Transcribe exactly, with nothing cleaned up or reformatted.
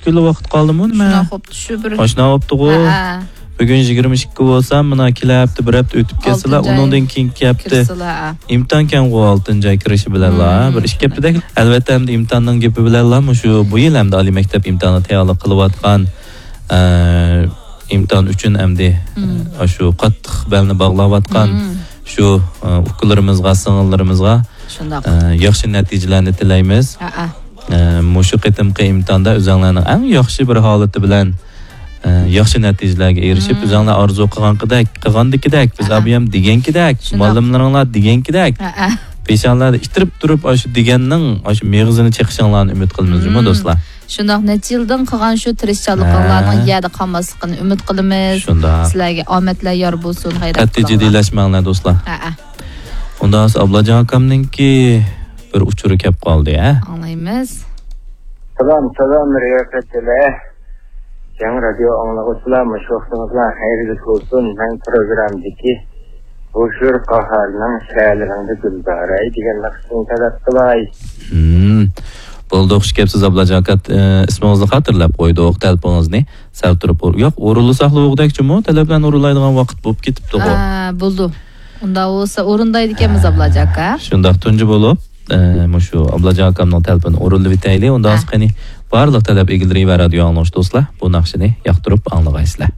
يىل ۋاقىت قالدىمۇ نېمە؟ شۇنداق بوپتۇ، شۇ بىر. ئاشۇنداق بوپتىغۇ. ھە، ھە. بۈگۈن يىگىرمە ئىككى بولسا، مانا كېلەر ھەپتە بىر ھەپتە ئۆتۈپ كەتسىلا، ئالتىنچى ئاي ئۇنىڭدىن كېيىن ھەپتە كىرسىلا، ھە. ئىمتىھان كەنغۇ، ئالتىنچى ئاي كىرىشى بىلەنلا، مم. بىر ئىككى ھەپتىدەك. ئەلۋەتتە، ئەمدى ئىمتىھاننىڭ گېپى بىلەنلا، مۇشۇ بۇ يىل ئەمدى ئالىي مەكتەپ ئىمتىھانىغا تەييارلىق قىلىۋاتقان، ئە، ئىمتىھان ئۈچۈن ئەمدى، مم. ئە، شۇ قاتتىق بەلنى باغلاۋاتقان مم. شۇ، ئە، ئۇكىلىرىمىزغا، سىڭىللىرىمىزغا، شۇنداق. ئە، ياخشى نەتىجىلەرنى تىلەيمىز. ھە، ھە. ئە، مۇشۇ قېتىمقى ئىمتىھاندا ئۆزۈڭلارنىڭ ئەڭ ياخشى بىر ھالىتى بىلەن، ئە، ياخشى نەتىجىلەرگە ئېرىشىپ، مم. ئۆزۈڭلار ئارزۇ قىلغانقىدەك، قىلغاندىكىدەك، بىز ھە، ھە. ئابىيام دېگەنكىدەك، شۇنداق. مۇئەللىملىرىڭلار دېگەنكىدەك، ھە، ھە. پېشانىلەردە ئىتتىرىپ تۇرۇپ، ئاشۇ دېگەننىڭ ئاشۇ مېغىزىنى چېقىشىڭلارنى ئۈمىد قىلىمىز جۇمۇ، مم. دوستلار. شۇنداق، نەچچە يىلدىن قىلغان شۇ تىرىشچانلىقىڭلارنىڭ ھە. يەردە قالماسلىقىنى ئۈمىد قىلىمىز. شۇنداق. سىلەرگە ئامەتلەر يار بولسۇن، غەيرەت قەتئىي قىلىڭلار. جىددىيلەشمەڭلار، دوستلار. ھە، ھە. ئۇنداق بولسا ئابلاجان ئاكامنىڭكى بىر ئۇچۇرى كەپ قالدى، ھە؟ ئاڭلايمىز. سالام، سالام، رىياسەتچىلەر. جەڭ رادىيو ئاڭلىغۇچىلار، مۇشۇ ۋاقتىڭىزلار خەيرلىك بولسۇن. مەن پروگراممىدىكى «بوشۇر قاھارنىڭ شەھەرلىرىڭدە گۈلزارەي» دېگەن ناخشىنى تەلەپ قىلاي. ھىم. بولدى، خۇش كەپسىز، ئابلاجان ئاكا. ئە، ئىسمىڭىزنى خاتىرىلەپ قويدۇق، تەلىپىڭىزنى سەل تۇرۇپ ئور-، ياق، ئورۇنلىساقلا بولغۇدەك جۇمۇ، تەلەپلەرنى ئورۇنلايدىغان ۋاقىت بولۇپ كېتىپتىغۇ. ئا، بولدى. ئۇنداق بولسا ئورۇندايدىكەنمىز، ئابلاجان ئاكا. شۇنداق، تۇنجى بولۇپ، ئە، مۇشۇ ئابلاجان ئاكامنىڭ تەلىپىنى ئورۇنلىۋېتەيلى. ئۇنداق ھە. بولسا قېنى، بارلىق تەلەپ ئىگىلىرى ۋە رادىيو ئاڭلىغۇچى دوستلار، بۇ ناخشىنى ياقتۇرۇپ ئاڭلىغايسىلەر.